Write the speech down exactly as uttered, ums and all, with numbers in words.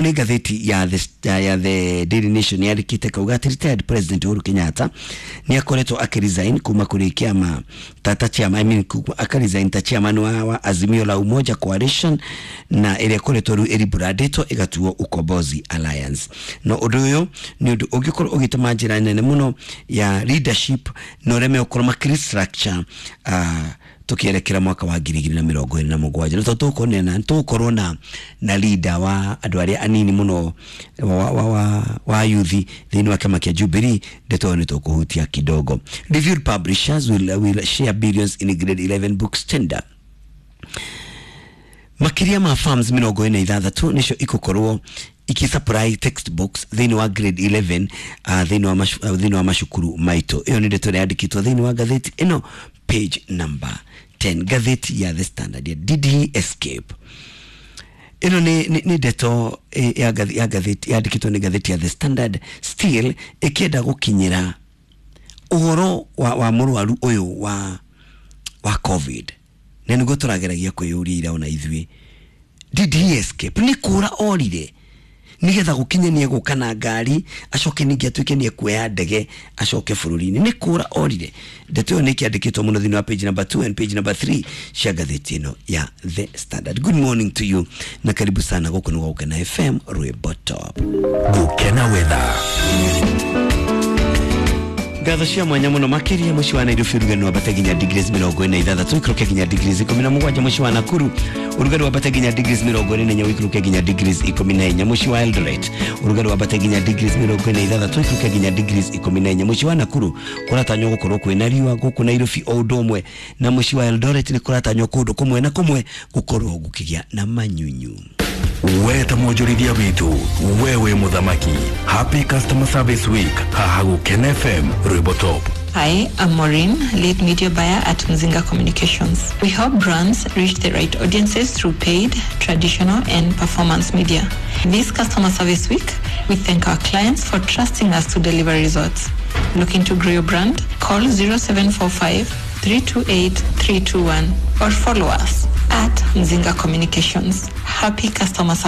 Nĩ ngathĩti ya the, ya the Daily Nation yandĩkĩte kauga atĩ retired President Uhuru Kenyatta nĩ akoretwo akĩresign kuma kũrĩ kĩama tata chairman, I mean, akaresign ta chairman wa, wa Azimio la Umoja Coalition, na ĩrĩa ĩkoretwo rĩu ĩribrandĩtwo ĩgatuo Ukombozi Alliance. No ũndũ ũyũ nĩ ũndũ ũngĩkorwo ũgĩtũma njĩra nene mũno ya leadership na ũrĩa megũkorwo makĩrestructure uh, tukielekera mwaka wa ngiri igĩrĩ na mĩrongo ĩrĩ na mũgwanja, na tondũ tũkũnena tũgũkorwo na na leader wa andũ arĩa anini mũno wa, wa, wa, wa youth thĩinĩ wa kĩama kĩa Jubilee. Ndeto ĩyo nĩ tũkũhutia kidogo. Reviewed publishers will, will share billions in grade eleven books tender. Makĩria ma firms mĩrongo ĩna ithathatũ nĩcio igũkorwo ikisupply textbooks thĩinĩ wa grade eleven uh, thĩinĩ wa macu, uh, thĩinĩ wa macukuru maitũ. Ĩyo nĩ ndeto ĩrĩa yandĩkĩtwo thĩinĩ wa ngathĩti ĩno, page number ten, ngathĩti ya The Standard. Ya "Did he escape?" Ĩno nĩ nĩ nĩ ndeto eh, ya ngathĩ- ya ngathĩti yandĩkĩtwo nĩ ngathĩti ya The Standard, still ĩkĩenda gũkinyĩra ũhoro wa, wa mũrwaru ũyũ wa wa COVID, na nĩguo tũrageragia kwĩyũria ira ona ithuĩ, did he escape? Nĩ kũra orire nigetha gũkinye nĩ egũka na ngari, acoke ningĩ atuĩke nĩ ekuoya ndege acoke bũrũri-inĩ? Nĩ kũra orire? Ndeto ĩyo nĩ ĩkĩandĩkĩtwo mũno thĩinĩ wa page number two and page number three cia ngathĩti ĩno ya The Standard. Good morning to you na karibu sana. Gũkũ nĩ gwa Gũkena F M, rwĩmbo top. Gukena Weather. Ngatho cia mwanya mũno makĩria. Mũciĩ wa Nairobi ũrugarĩ wambate nginya degrees mĩrongo ĩna ithathatũ, ikũrũke nginya degrees ikũmi na mũgwanja. Mũciĩ wa Nakuru ũrugarĩ wambate nginya degrees mĩrongo ĩrĩ na inya, ũikũrũke nginya degrees ikũmi na inya. Mũciĩ wa Eldoret ũrugarĩ wambate nginya degrees mĩrongo ĩna ithathatũ, ikũrũke nginya degrees ikũmi na inya. Mũciĩ wa Nakuru kũratanywo gũkorwo kwĩna riũa. Gũkũ Nairobi o ũndũ ũmwe na mũciĩ wa Eldoret nĩ kũratanywo kũndũ kũmwe na kũmwe gũkorwo gũkĩgĩa na manyunyu. We ta mwonjorithia witũ, we wĩ mũthamaki. Happy Customer Service Week haha Gũkena F M, rwĩmbo top. Hi, I'm Maureen, lead media buyer at Mzinga Communications. We help brands reach the right audiences through paid, traditional, and performance media. This Customer Service Week, we thank our clients for trusting us to deliver results. Looking to grow your brand? Call zero seven four five three two eight three two one or follow us at Mzinga Communications. Happy customer service.